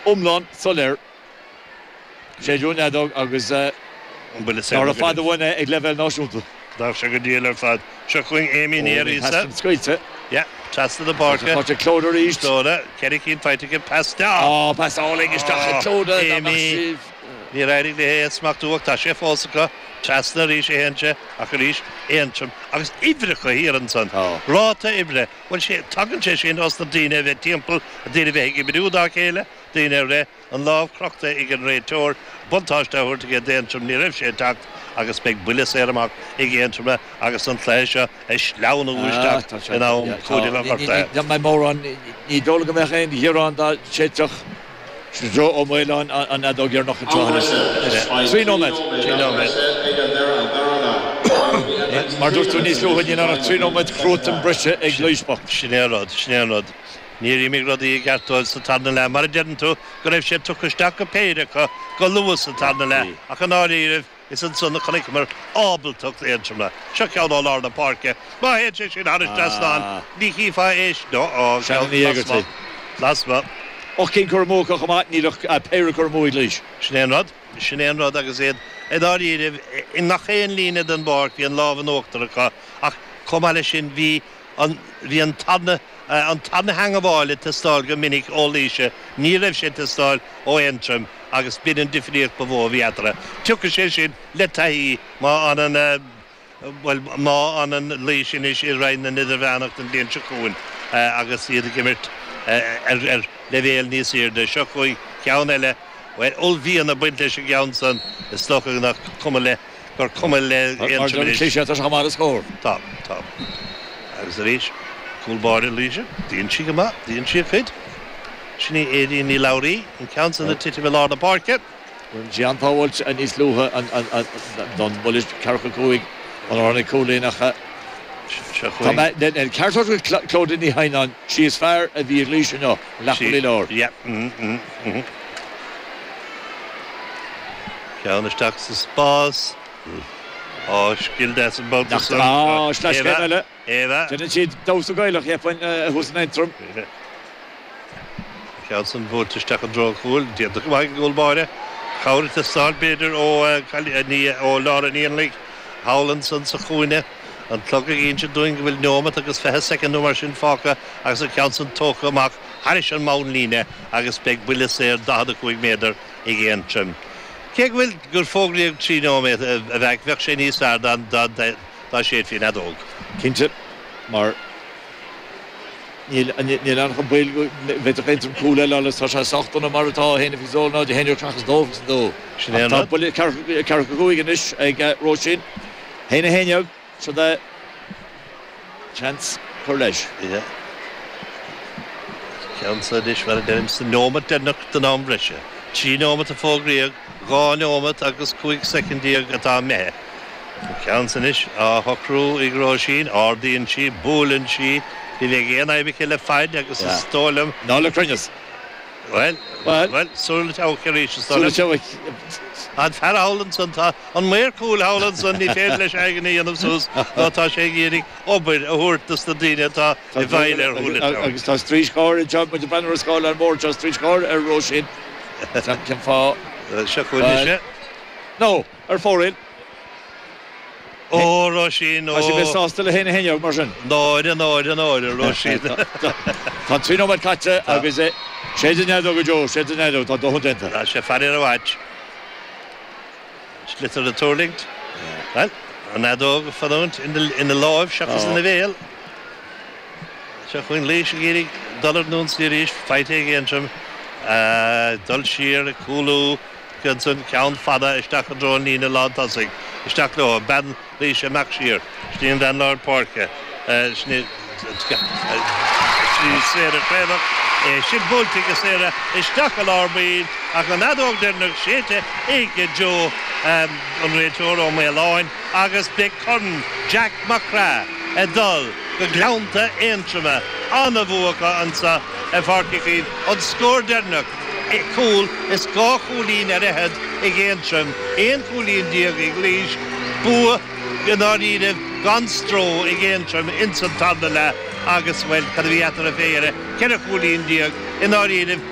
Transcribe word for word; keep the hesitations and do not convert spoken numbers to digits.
iomlán soiléir. Séideadh an fheadóg agus An buille ná raibh fada uainn é ag leibhéal náisiúnta. D'fhág sé go diail ar fad. Seo chugainn Amy Ní Fhearghusa. Scaoilte. Yeah, trasna na páirce. Tá sé Clóda arís. Clóda, ceithre cinn faighte aici, pas isteach. Á, pas álainn isteach ag Clóda. Amy. Níor éirigh léi é a smachtú ach tá sé fós acu. Trasna arís a théann sé ach arís Aontroim agus uimhreacha thiar ansan. Ráta uimhre. Bhuel sé, tagann sé sin os na daoine a bheith timpeall, daoine a bheith ag oibriú dá chéile, daoine a rith, an lámh crochta ag an réiteoir, buntáiste á thabhairt aige d'Aontroim, ní raibh sé ag teacht agus beidh buille saor amach ag Aontroim agus an cluiche seo ag sleamhnú isteach in am cúitimh an ghortaithe. Ní mbeidh mórán, ní dóigh liom go mbeadh aon ghearán dá séidfeadh Joe Ó Maoláin an fheadóg dheireanach anseo anois. Trí nóiméad. Trí nóiméad. Mar dúirt tú níos luaithe, níl ann ach trí nóiméad cruatan breise ag Laois bocht. Sin é an rud, sin é an rud. Níor imigh rudaí i gceart dóibh sa tarna leath. Mar a deireann tú, go raibh sé tugtha isteach go péire acu go luath sa tarna leath, ach i ndáiríribh, is ansan a chonaiceamar ábaltacht Aontroma. Seo ceann ó lár na páirce. Má théann sé sin thar an trasnán, ní chífeá é sin. Ó, ó, Shannon Ní Éigeartaigh. Lasmuigh. Ocht gcinn curtha amú acu chomh maith, níl ach péire curtha amú ag Laois. Sin é an rud. Sin é an rud agus iad i ndáiríribh i ngach aon líne den bpáirc, bhí an lámh in uachtar acu ach chomh maith leis sin bhí an bhí an tarna an tarna theangabháil ag teastáil go minic ó Laoise, ní raibh sé ag teastáil ó Aontroim agus b'in an difríocht ba mhó a bhí eatarthu. Tiocfaidh sé sin le taithí má fhanann bhuel má fhanann Laois anois i Roinn na nIdirmheánach don bhliain seo chugainn agus iad ag imirt ar ar leibhéal níos airde. Seo chugainn ceann eile, bhuel uaillmhian ag baint leis an gceann san, is dócha nach cuma le gur cuma le Aontroim anois. Tá sé chomh maith le scór. Tá, tá. Agus arís, cúl báire Laoise, déanann sí go maith, déanann sí a cuid. Sin í Aedín Ní Labhraí, an ceann san ag titim i lár na páirce. Rinne sí an-tsábháilt níos luaithe don bhuille ceathracha cúig ó tháinig cúilín ach tá mé ceart go Clodagh Ní Theimhneáin, sí is fearr a bhí ag Laois inniu, leathchúlaí láir. Yeah. Mm, mm. Ceann isteach sa spás. Á, scil deas an babhta san. Á, sleaschéim eile. Eva. Déanann siad damhsa Gaelach, cheapfainn, thuas in Aontroim. An ceann san buailte isteach i dtreo an chúil. Déanta go maith ag an gcúl báire. Cabhair ag teastáil, b'fhéidir, ó ó Laura Ní Annaidh thall ansan sa chúinne. An clog ag inse dúinn go bhfuil neomat agus fiche soicind nó mar sin fágtha agus an ceann san tógtha amach thairis an mbonnlíne agus beidh buille saor daichead a cúig méadar ag Aontroim. Cé go bhfuil gur fógraíodh trí nóiméad a bheadh, bheadh sé níos fearr dá dá séidfí an fheadóg. Cinnte, mar níl níl ann chun baol go bhféadfadh Aontroim cúl eile a fháil agus tá sé sách dona mar atá, a haon a fiche a dó, náid a haon déag seachas dó fiche a dó. Sin é Ach an tá rud. buille ceathracha cúig anois ag Róisín. Haon a haon déag, siod é. Seans cur leis. Yeah. Ceann seo anois, mar a deirim, sa neomat deireanach den am breise. Trí nóimeat a fógraíodh, dhá neomat agus cúig soicind déag atá imithe. An ceann seo anois á shocrú ag Róisín, ardaíonn sí, buaileann sí, ní bheidh aon fhadhb aici le faid agus is dóigh liom. Ná le cruinneas. Bhuel, bhuel, súil le teabhac arís, is dóigh liom. An fear thall ansan, tá an maor cúil thall ansan, ní féidir leis eigean a dhéanamh suas nó tá sé ag iarraidh obair a thabhairt dos na daoine atá i bhfeighil ar shúile teabhac. Agus tá straois gháire anseo, muid ag breathnú ar an scáileán mór anseo, straois gháire ar Róisín. Cén fáth? Seo chugainn ise. Nó, ar fóraoil. Ó, Róisín, ó. Tá sí bheith sásta le haon a haon déag mar sin. Náire, náire, náire, Róisín. Tá trí nóiméad caite agus séid an fheadóg a Joe, séid an fheadóg, tá dóthain déanta. Tá sé faraor i bhfad. Sliotar ag tuirlingt. Bhuel, an fheadóg ag fanúint ina láimh seachas ina bhéal. Seo chugainn Laois ag iarraidh dul ar an ionsaí arís, faighte ag Aontroim. Dul siar, ag cúlú. Ansan ceann fada isteach i dtreo an líne lántosaigh. Isteach leo. Bean Laoise amach siar. Sin í an bhean lár páirce. Sin í Sarah Craobhach. É sin buailte ag Sarah isteach i lár baill ach an fheadóg deireanach séidte ag Joe, an réiteoir Ó Maoláin, agus beidh Corn Jack Mac Craith ag dul go Gleannta Aontroma. An-bhua acu anso i bPáirc Uí Chaoimh. An scór deireanach. Cúl is dhá chúilín ar fhichead ag Aontroim, aon chúilín déag ag Laois, bua i ndáiríribh gan stró ag Aontroim ins an tarna leath agus, bhuel, cad a bhí eatarthu fé dheireadh, ceithre chúilín déag i ndáiríribh